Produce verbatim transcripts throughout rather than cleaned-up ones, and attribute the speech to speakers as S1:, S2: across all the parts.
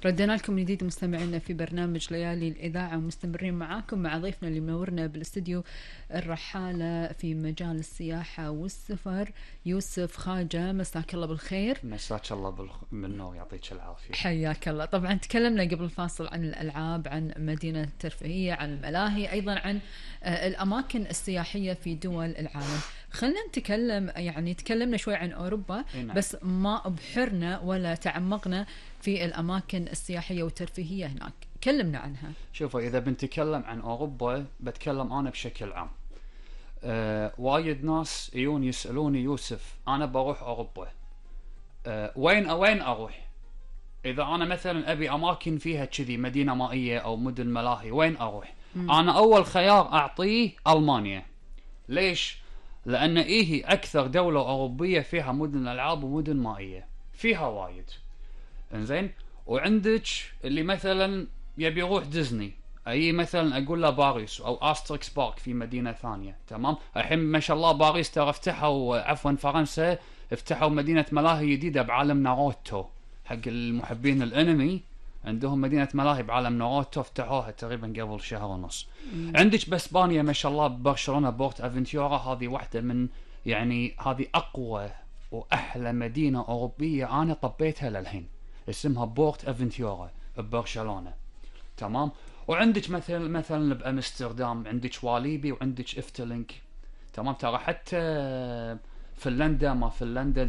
S1: ردنا لكم من جديد مستمعينا في برنامج ليالي الإذاعة، ومستمرين معاكم مع ضيفنا اللي منورنا بالاستديو الرحالة في مجال السياحة والسفر يوسف خاجة. مساك الله بالخير.
S2: مساك الله بالنور، يعطيك العافية.
S1: حياك الله. طبعا تكلمنا قبل الفاصل عن الألعاب، عن مدينة الترفيهية، عن الملاهي، أيضا عن الأماكن السياحية في دول العالم. خلنا نتكلم، يعني تكلمنا شوي عن أوروبا بس ما أبحرنا ولا تعمقنا في الأماكن السياحية والترفيهية هناك. كلمنا عنها.
S2: شوفوا، إذا بنتكلم عن أوروبا بتكلم أنا بشكل عام. أه وايد ناس يجون يسألوني يوسف أنا بروح أوروبا، أه وين وين أروح؟ إذا أنا مثلا أبي أماكن فيها كذي مدينة مائية أو مدن ملاهي، وين أروح؟ م. أنا أول خيار أعطيه ألمانيا. ليش؟ لأن إيه أكثر دولة أوروبية فيها مدن ألعاب ومدن مائية، فيها وايد. إنزين، وعندك اللي مثلا يبي يروح ديزني، أي مثلا أقول له باريس أو أستريكس بارك في مدينة ثانية. تمام. الحين ما شاء الله باريس ترى افتحوا، عفوا فرنسا افتحوا مدينة ملاهي جديدة بعالم ناروتو حق المحبين الأنمي. عندهم مدينة ملاهي بعالم ناروتو افتحوها تقريبا قبل شهر ونص. مم. عندك باسبانيا ما شاء الله برشلونة بورت افنتورا، هذه واحدة من يعني هذه أقوى وأحلى مدينة أوروبية أنا طبيتها للحين، اسمها بورت افنتورا ببرشلونة. تمام. وعندك مثلا مثلا بامستردام عندك واليبي وعندك افتلينك. تمام. ترى حتى فنلندا، ما فنلندا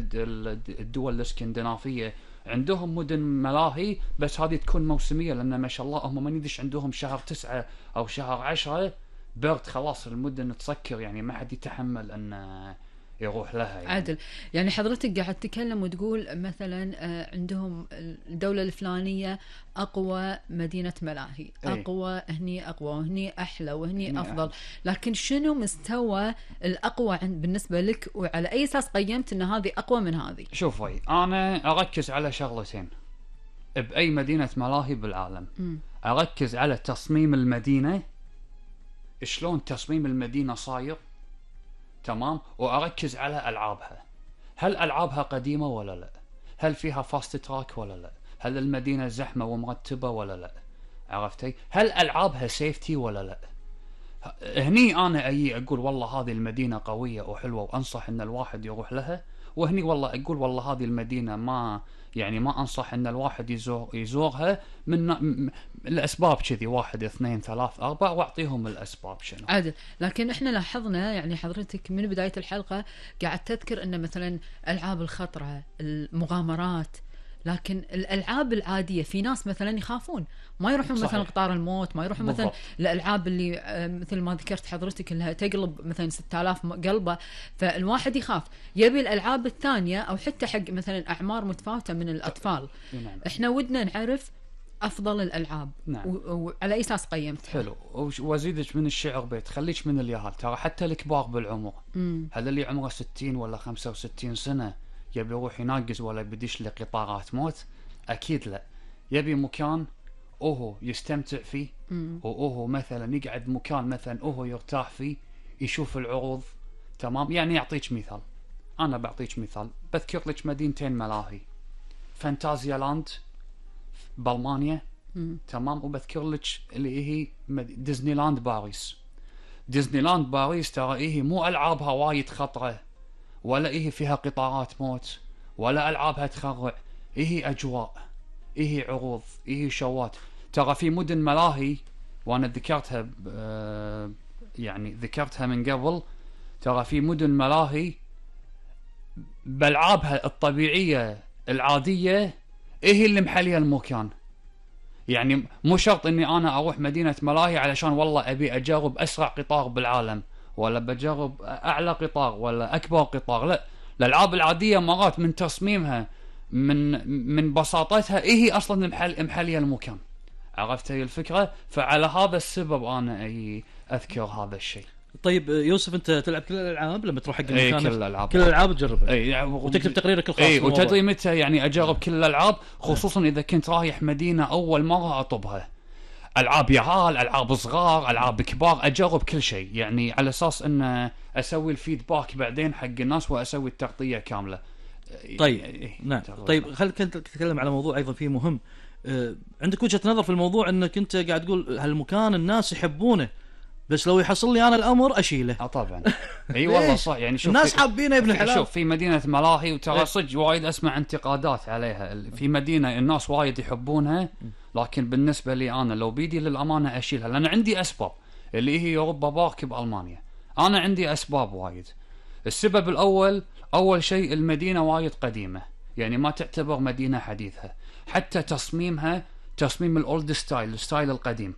S2: الدول الاسكندنافية عندهم مدن ملاهي، بس هذه تكون موسمية لأن ما شاء الله هم ما ندش عندهم شهر تسعة أو شهر عشرة برد، خلاص المدن تسكر، يعني ما حد يتحمل أن يروح لها يعني.
S1: عادل، يعني حضرتك قاعد تتكلم وتقول مثلا عندهم الدولة الفلانية أقوى مدينة ملاهي، أقوى هني أقوى وهني أحلى وهني أفضل، لكن شنو مستوى الأقوى بالنسبة لك، وعلى أي أساس قيمت أن هذه أقوى من هذه؟
S2: شوفي، أنا أركز على شغلتين بأي مدينة ملاهي بالعالم. م. أركز على تصميم المدينة، شلون تصميم المدينة صاير. تمام. وأركز على ألعابها، هل ألعابها قديمة ولا لا؟ هل فيها فاست تراك ولا لا؟ هل المدينة زحمة ومرتبة ولا لا؟ عرفتي؟ هل ألعابها سيفتي ولا لا؟ هني أنا أي أقول والله هذه المدينة قوية وحلوة وأنصح أن الواحد يروح لها، وهني والله أقول والله هذه المدينة ما يعني ما أنصح أن الواحد يزور يزورها من م... الأسباب كذي، واحد اثنين ثلاث أربع، وأعطيهم الأسباب شنو.
S1: عادل، لكن إحنا لاحظنا يعني حضرتك من بداية الحلقة قاعد تذكر أن مثلا ألعاب الخطرة، المغامرات، لكن الألعاب العادية في ناس مثلا يخافون ما يروحون. صحيح. مثلا قطار الموت ما يروحون. بالضبط. مثلا الألعاب اللي مثل ما ذكرت حضرتك اللي تقلب مثلا ستة آلاف قلبة، فالواحد يخاف، يبي الألعاب الثانية أو حتى حق مثلا أعمار متفاوتة من الأطفال. نعم. إحنا ودنا نعرف أفضل الألعاب. نعم. وعلى أي أساس قيمت؟
S2: حلو. وزيدك من الشعر بيت، خليك من اليهال، ترى حتى الكبار بالعمر، هذا اللي عمره ستين ولا خمسة وستين سنة يبي يروح يناقز ولا بديش لقطارات موت؟ أكيد لا. يبي مكان أوهو يستمتع فيه، وأوهو مثلا يقعد مكان مثلا أوهو يرتاح فيه، يشوف العروض. تمام. يعني يعطيك مثال، أنا بعطيك مثال، بذكر لك مدينتين ملاهي، فانتازيا لاند بألمانيا. تمام. وبذكر لك اللي هي ديزني لاند باريس. ديزني لاند باريس ترى إيه مو ألعابها وايد خطرة، ولا إيه فيها قطارات موت، ولا ألعابها تخرع، إيه أجواء، إيه عروض، إيه شوات. ترى في مدن ملاهي وأنا ذكرتها يعني ذكرتها من قبل، ترى في مدن ملاهي بألعابها الطبيعية العادية إيه اللي محلية المكان. يعني مو شرط إني أنا أروح مدينة ملاهي علشان والله أبي أجرب أسرع قطار بالعالم، ولا بجرب أعلى قطار ولا أكبر قطار. لا، الألعاب العادية مرات من تصميمها من من بساطتها إيه أصلا محل محلية المكان. عرفت هي الفكرة؟ فعلى هذا السبب أنا أي أذكر هذا الشيء.
S3: طيب يوسف، أنت تلعب كل الألعاب لما تروح حق المكان؟
S2: أي كل الألعاب،
S3: كل الألعاب تجربها.
S2: أي
S3: يعني وتكتب تقريرك الخاص.
S2: أي وتدري متى يعني أجرب كل الألعاب، خصوصا إذا كنت رايح مدينة أول مرة أطبها. ألعاب يعال، ألعاب صغار، ألعاب كبار، أجرب كل شيء، يعني على أساس أن أسوي الفيدباك بعدين حق الناس وأسوي التغطية كاملة.
S3: طيب. نعم. طيب خلينا نتكلم على موضوع أيضا فيه مهم، آه، عندك وجهة نظر في الموضوع انك انت قاعد تقول هالمكان الناس يحبونه، بس لو يحصل لي انا الامر اشيله.
S2: اه طبعا. اي والله صح. يعني شوف
S3: الناس
S2: في-
S3: حابينه يا ابن الحلال.
S2: شوف في مدينة ملاهي،
S3: إيه.
S2: وترى صدق وايد اسمع انتقادات عليها. ال- في مدينة الناس وايد يحبونها، لكن بالنسبة لي انا لو بيدي للامانة اشيلها، لان عندي اسباب اللي هي يوروبا بارك بالمانيا. انا عندي اسباب وايد. السبب الاول، اول شيء المدينة وايد قديمة، يعني ما تعتبر مدينة حديثة، حتى تصميمها تصميم الاولد ستايل، الستايل القديم.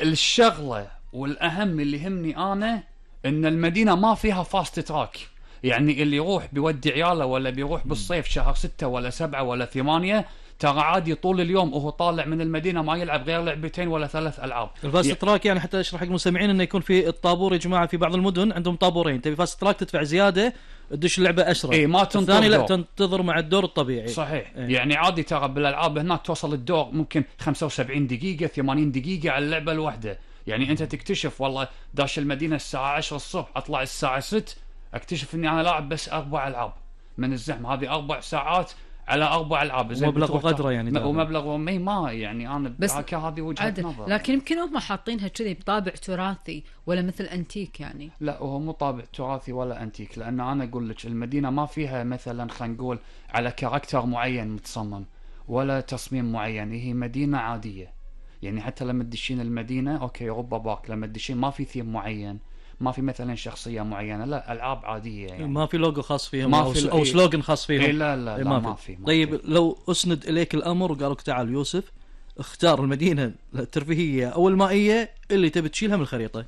S2: الشغلة والاهم اللي يهمني انا ان المدينة ما فيها فاست تراك، يعني اللي يروح بيودي عياله ولا بيروح بالصيف شهر ستة ولا سبعة ولا ثمانية، ترى عادي طول اليوم وهو طالع من المدينة ما يلعب غير لعبتين ولا ثلاث العاب.
S3: الفاست تراك يعني حتى اشرح حق المستمعين انه يكون في الطابور يا جماعه، في بعض المدن عندهم طابورين، تبي فاست تراك تدفع زياده تدش اللعبه اسرع.
S2: اي ما تنتظر
S3: الثاني لا
S2: دور.
S3: تنتظر مع الدور الطبيعي.
S2: صحيح.
S3: إيه.
S2: يعني عادي ترى بالالعاب هناك توصل الدور ممكن خمسة وسبعين دقيقة ثمانين دقيقة على اللعبة الواحدة. يعني انت تكتشف والله داش المدينة الساعة عشرة الصبح، اطلع الساعة ستة اكتشف اني انا لاعب بس اربع العاب من الزحمة. هذه اربع ساعات على اربع العاب. زين
S3: ومبلغ
S2: بتروح
S3: وقدره
S2: تاخ-
S3: يعني
S2: م-
S3: تاخذ.
S2: ومبلغ ومي ما يعني انا
S1: بس
S2: بس هذه وجهة
S1: عادل.
S2: نظر.
S1: لكن يمكن هم حاطينها كذي بطابع تراثي ولا مثل انتيك يعني.
S2: لا هو مو طابع تراثي ولا انتيك، لان انا اقول لك المدينه ما فيها مثلا خلينا نقول على كاركتر معين متصمم ولا تصميم معين، هي مدينه عاديه. يعني حتى لما تدشين المدينه اوكي اوروبا بارك، لما تدشين ما في ثيم معين، ما في مثلا شخصيه معينه، لا العاب عاديه يعني.
S3: ما في لوجو خاص فيهم
S2: ما
S3: او,
S2: في-
S3: أو
S2: إيه.
S3: سلوغن خاص فيهم.
S2: إيه لا لا,
S3: إيه
S2: لا
S3: ما,
S2: ما
S3: في.
S2: في. ما
S3: طيب
S2: في.
S3: لو اسند اليك الامر وقالوا لك تعال يوسف اختار المدينه الترفيهيه او المائيه اللي تبي تشيلها من الخريطه.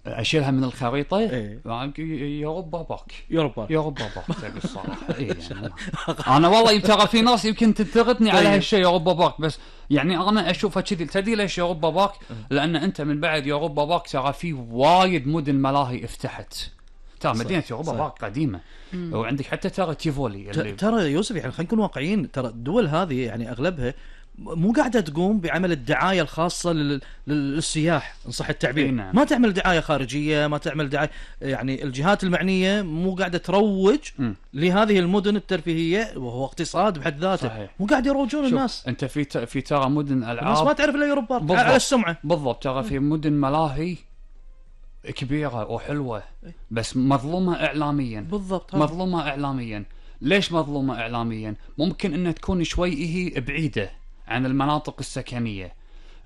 S2: اشيلها من الخريطه.
S3: إيه.
S2: يوروبا بارك.
S3: يوروبا.
S2: يوروبا بارك تبي الصراحه. إيه يعني انا والله ترى في ناس يمكن تنتقدني على
S3: طيب.
S2: هالشيء يوروبا بارك، بس يعني انا اشوفها كذي. تدري ليش يوروبا بارك؟ لان انت من بعد يوروبا بارك ترى في وايد مدن ملاهي افتحت. ترى مدينه يوروبا
S3: صح.
S2: بارك قديمه، وعندك حتى ترى تيفولي
S3: ت-
S2: اللي
S3: ترى يوسف يعني خلينا نكون واقعيين، ترى الدول هذه يعني اغلبها مو قاعده تقوم بعمل الدعايه الخاصه لل... للسياح ان صح التعبير.
S2: إيه نعم.
S3: ما تعمل دعايه خارجيه، ما تعمل دعايه، يعني الجهات المعنيه مو قاعده تروج
S2: مم.
S3: لهذه المدن الترفيهيه وهو اقتصاد بحد ذاته.
S2: صحيح.
S3: مو قاعد يروجون
S2: شوف،
S3: الناس.
S2: انت في ت... في ترى مدن
S3: الناس
S2: العاب
S3: ما تعرف الا يوروبا
S2: بالضبط.
S3: على السمعه.
S2: بالضبط. ترى في مدن ملاهي كبيره وحلوه بس مظلومه اعلاميا.
S3: بالضبط. هذا.
S2: مظلومة إعلاميا. ليش مظلومة إعلاميا؟ ممكن أن تكون شوي هي بعيدة عن المناطق السكنية.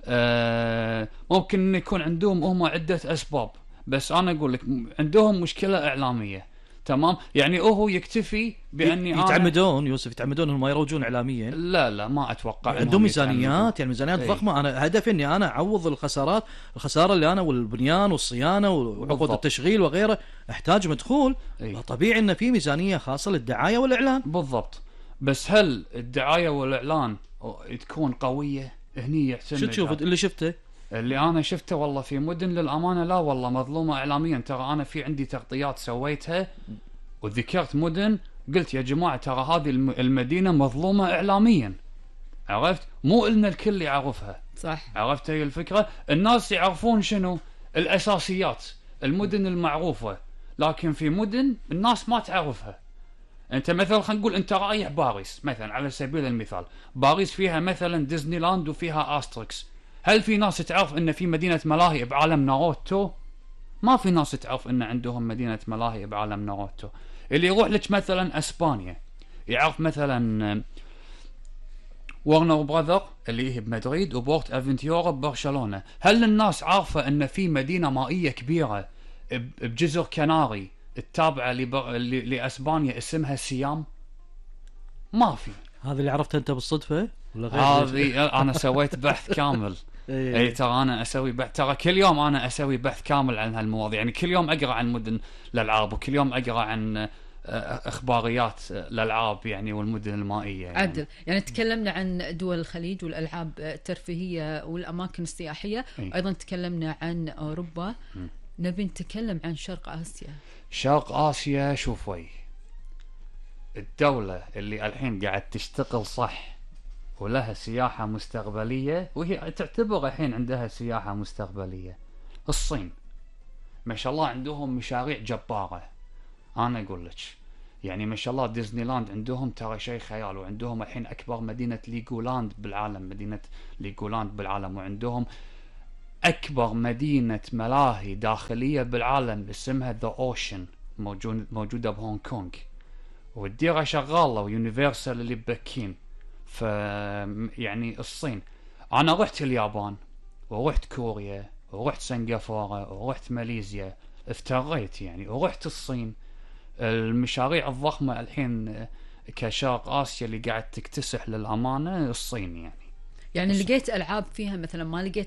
S2: آه ممكن أن يكون عندهم هم عدة أسباب، بس أنا أقول لك عندهم مشكلة إعلامية. تمام. يعني هو يكتفي بأني أنا
S3: يتعمدون يوسف يتعمدون انهم ما يروجون اعلاميا.
S2: لا لا ما أتوقع إنهم
S3: عندهم
S2: يتعمدون.
S3: ميزانيات، يعني ميزانيات
S2: إيه.
S3: ضخمه. انا هدفي اني انا اعوض الخسارات الخساره اللي انا والبنيان والصيانه وعقود
S2: بالضبط.
S3: التشغيل وغيره، احتاج مدخول.
S2: إيه.
S3: طبيعي ان في ميزانيه خاصه للدعايه والاعلان.
S2: بالضبط. بس هل الدعاية والإعلان تكون قوية؟ هني يعتمد.
S3: شو تشوف اللي شفته؟
S2: اللي انا شفته والله في مدن للامانه لا والله مظلومه اعلاميا. ترى انا في عندي تغطيات سويتها وذكرت مدن قلت يا جماعه ترى هذه الم- المدينه مظلومه اعلاميا. عرفت؟ مو إلنا الكل يعرفها.
S1: صح.
S2: عرفت هي الفكره؟ الناس يعرفون شنو الاساسيات، المدن المعروفه، لكن في مدن الناس ما تعرفها. انت مثلا خلينا نقول انت رايح باريس مثلا على سبيل المثال، باريس فيها مثلا ديزني لاند وفيها استريكس. هل في ناس تعرف ان في مدينه ملاهي بعالم ناروتو؟ ما في ناس تعرف ان عندهم مدينه ملاهي بعالم ناروتو. اللي يروح لك مثلا اسبانيا يعرف مثلا ورنر براذر اللي هي بمدريد وبورت افنتيورا ببرشلونه. هل الناس عارفه ان في مدينه مائيه كبيره ب- بجزر كناري التابعه لبر... ل... لاسبانيا اسمها سيام؟ ما في.
S3: هذا اللي عرفته انت بالصدفه ولا غير؟
S2: هذه انا سويت بحث كامل.
S3: إيه.
S2: اي ترى انا اسوي بحث، ترى كل يوم انا اسوي بحث كامل عن هالمواضيع. يعني كل يوم اقرا عن مدن الالعاب وكل يوم اقرا عن آه، اخباريات الالعاب يعني والمدن المائيه يعني.
S1: عدل. يعني تكلمنا عن دول الخليج والألعاب الترفيهية والأماكن السياحية.
S2: أي.
S1: أيضا تكلمنا عن أوروبا.
S2: م.
S1: نبي نتكلم عن شرق آسيا.
S2: شرق اسيا شوفي الدوله اللي الحين قاعد تشتغل صح ولها سياحه مستقبليه، وهي تعتبر الحين عندها سياحه مستقبليه، الصين. ما شاء الله عندهم مشاريع جباره. انا اقول لك يعني ما شاء الله ديزني لاند عندهم ترى شيء خيال، وعندهم الحين أكبر مدينة ليجولاند بالعالم، مدينة ليجولاند بالعالم، وعندهم أكبر مدينة ملاهي داخلية بالعالم اسمها ذا أوشن، موجود موجودة بهونغ كونغ، والديرة شغالة، ويونيفرسال اللي ببكين. ف يعني الصين، أنا رحت اليابان ورحت كوريا ورحت سنغافورة ورحت ماليزيا، افتريت يعني، ورحت الصين. المشاريع الضخمة الحين كشرق آسيا اللي قاعد تكتسح للأمانة الصين يعني.
S1: يعني لقيت ألعاب فيها مثلا ما لقيت